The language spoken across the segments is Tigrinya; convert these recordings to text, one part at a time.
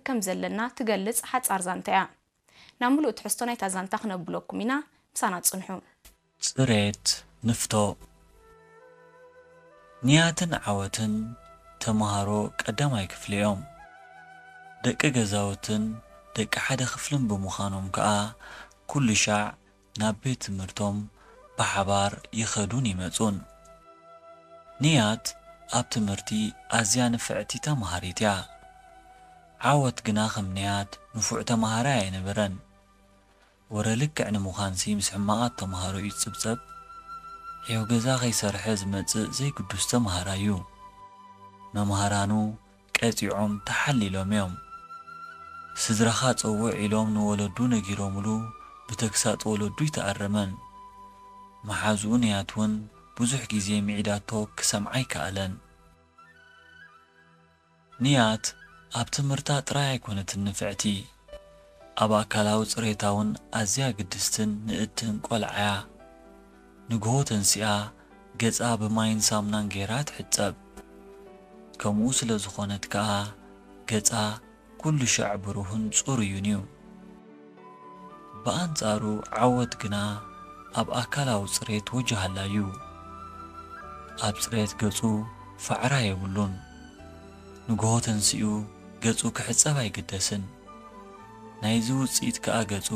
ከም ዘለና ትገልጽ ሓጻር ዛንታ እያ። ናብ ምሉእ ትሕዝቶ ናይታ ዛንታ ክነብለኩም ኢና፣ ምሳና ጽንሑ። ጽሬት ንፍቶ። ንያትን ዓወትን ተምሃሮ ቀዳማይ ክፍሊ እዮም። ደቂ ገዛውትን ደቂ ሓደ ክፍልን ብምዃኖም ከኣ ኩሉ ሻዕ ናብ ቤት ትምህርቶም ብሓባር ይኸዱን ይመጹን። ንያት ኣብ ትምህርቲ ኣዝያ ንፍዕቲ ተምሃሪት እያ። ዓወት ግና ከም ንያት ንፉዕ ተምሃራይ ኣይነበረን። ወረ ልክዕ ንምዃንሲ ምስ ሕማቓት ተምሃሮ እዩ ዝጽብጸብ። ዒው ገዛ ከይሰርሐ ዝመጽእ ዘይግዱስ ተምሃራይ እዩ። መምሃራኑ ቀጺዖም ተሓሊሎም እዮም። ስድራኻ ጸውዕ ኢሎም ንወለዱ ነጊሮምሉ ብተግሳጽ ወለዱ ኣይተኣረመን። መሓዝኡ ንያት እውን ብዙሕ ግዜ ምዒዳቶ ክሰምዓ ኣይከኣለን። ንያት ኣብ ትምህርታ ጥራይ ኣይኮነትን ንፍዕቲ፣ ኣብ ኣካላዊ ጽሬታ እውን ኣዝያ ግድስትን ንእድትን ቆልዓ እያ። ንግሆ ተንሲኣ ገጻ ብማይን ሳሙናን ገይራ ትሕጸብ። ከምኡ ስለ ዝኾነት ከኣ ገጻ ኩሉ ሻዕ ብሩህን ጽሩይን እዩ። ብኣንጻሩ ዓወት ግና ኣብ ኣካላዊ ጽሬት ወጅሃላ እዩ። ኣብ ጽሬት ገጹ ፋዕራ የብሉን። ንግሆ ተንሲኡ ገጹ ክሕጸብ ኣይግደስን። ናይዚ ውጽኢት ከኣ ገጹ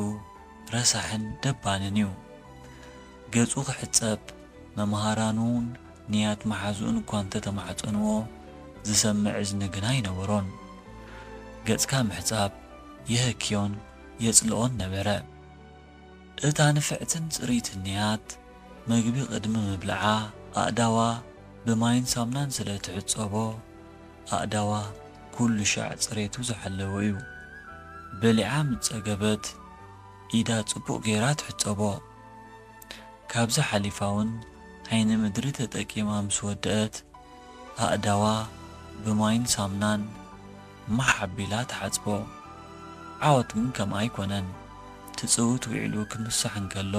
ረሳሕን ደባንን እዩ። ገጹ ክሕጸብ መምሃራኑን ንያት መሓዝኡን እኳ እንተተማሕጸንዎ ዝሰምዕ እዝኒ ግና ኣይነበሮን። ገጽካ ምሕጻብ የህክዮን የጽልኦን ነበረ። እታ ንፍዕትን ጽርይትን ንያት መግቢ ቅድሚ ምብልዓ ኣእዳዋ ብማይን ሳሙናን ስለ ትሕጸቦ ኣእዳዋ ኩሉ ሻዕ ጽሬቱ ዝሓለወ እዩ። በሊዓ ምስ ጸገበት ኢዳ ጽቡቕ ገይራ ትሕጸቦ። ካብዚ ሓሊፋ እውን ዓይኒ ምድሪ ተጠቂማ ምስ ወደአት ኣእዳዋ ብማይን ሳሙናን ማሕ ኣቢላ ትሓጽቦ። ዓወት ግን ከምኣ ኣይኮነን። ትጽውት ውዒሉ ክምሳሕ እንከሎ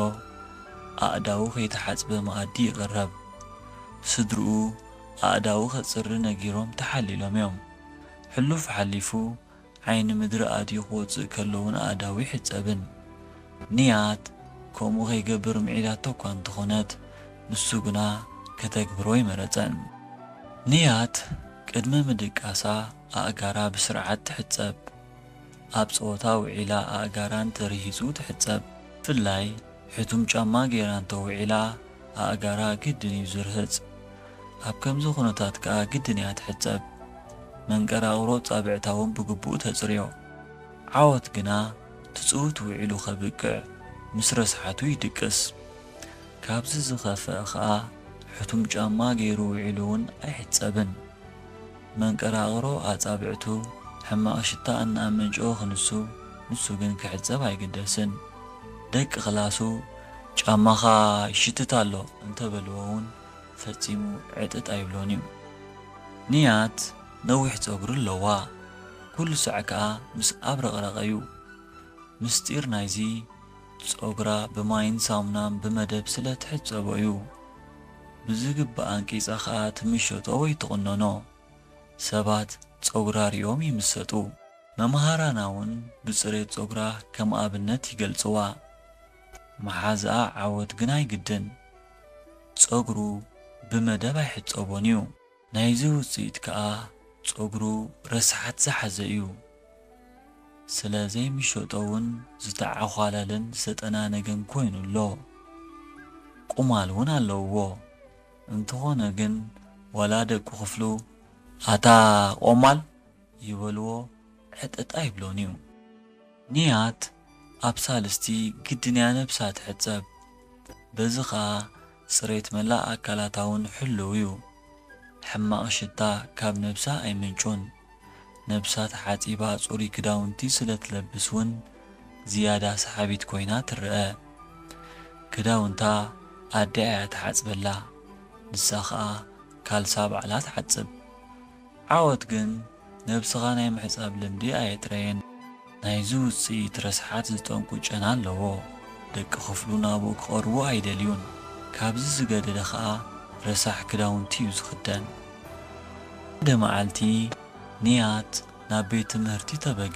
ኣእዳዉ ከይተሓጽበ መኣዲ ይቕረብ። ስድርኡ ኣእዳዉ ከጽሪ ነጊሮም ተሓሊሎም እዮም። ሕሉፍ ሓሊፉ ዓይኒ ምድሪ ኣትዩ ክወጽእ ከሎ እውን ኣእዳዉ ይሕጸብን። ንያት ከምኡ ከይገብር ምዒዳቶ እኳ እንተኾነት ንሱ ግና ከተግብሮ ኣይመረጸን። ንያት ቅድሚ ምድቃሳ ኣእጋራ ብስርዓት ትሕጸብ። ኣብ ጸወታ ውዒላ ኣእጋራ እንተርሂጹ ትሕጸብ። ብፍላይ ሕቱም ጫማ ገይራ እንተውዒላ ኣእጋራ ግድን እዩ ዝርህጽ። ኣብ ከምዚ ኩነታት ከኣ ግድን እያ ትሕጸብ። መንቀራቕሮ ጻብዕታ እውን ብግቡእ ተጽርዮ። ዓወት ግና ትጽውት ውዒሉ ከብቅዕ ምስ ረስሓቱ ይድቅስ። ካብዚ ዝኸፍአ ከኣ ሕቱም ጫማ ገይሩ ውዒሉ እውን ኣይሕጸብን። መንቀራቕሮ ኣጻብዕቱ ሕማቕ ሽታ እናኣመንጨወ ክንሱ፣ ንሱ ግን ክሕጸብ ኣይግደስን። ደቂ ክላሱ ጫማኻ ይሽትት ኣሎ እንተበልዎ እውን ፈጺሙ ዕጥጥ ኣይብሎን እዩ። ንያት ነዊሕ ጸጉሪ ኣለዋ። ኩሉ ሳዕ ከኣ ምስ ኣብረቕረቐ እዩ። ምስጢር ናይዚ ጸጉራ ብማይን ሳሙናን ብመደብ ስለ ትሕጸቦ እዩ። ብዝግባእ ኣንቂጻ ከኣ ትምሸጦ ወይ ትቕነኖ። ሰባት ጸጉራ ሪኦም ይምሰጡ። መምሃራና እውን ብጽሬት ጸጉራ ከም ኣብነት ይገልጽዋ። መሓዝኣ ዓወት ግን ኣይግድን። ጸጉሩ ብመደብ ኣይሕጸቦን እዩ። ናይዚ ውጽኢት ከኣ ጸጉሩ ረስሓት ዝሓዘ እዩ። ስለ ዘይምሸጦ እውን ዝተዓዃለለን ዝተጠናነገን ኮይኑ ኣሎ። ቁማል እውን ኣለውዎ። እንተኾነ ግን ዋላ ደቂ ክፍሉ ኣታ ቆማል ይበልዎ ዕጥጥ ኣይብሎን እዩ። ንያት ኣብ ሳልስቲ ግድን እያ ነብሳ ትሕጸብ። በዚ ኸኣ ጽሬት መላእ ኣካላታ እውን ሕሉው እዩ። ሕማቕ ሽታ ካብ ነብሳ ኣይምንጩን። ነብሳ ተሓጺባ ጽሩይ ክዳውንቲ ስለ ትለብስ እውን ዝያዳ ሰሓቢት ኮይና ትረኣ። ክዳውንታ ኣደኣ እያ ትሓጽበላ። ንሳ ኸኣ ካልሳ ባዕላ ትሓጽብ። ዓወት ግን ነብስኻ ናይ ምሕጻብ ልምዲ ኣየጥረየን። ናይዚ ውጽኢት ረስሓት ዝጠንቁ ጨና ኣለዎ። ደቂ ክፍሉ ናብኡ ክቐርቡ ኣይደልዩን። ካብዚ ዝገደደ ኸኣ ረሳሕ ክዳውንቲ እዩ ዝኽደን። ሓደ መዓልቲ ንያት ናብ ቤት ትምህርቲ ተበገ።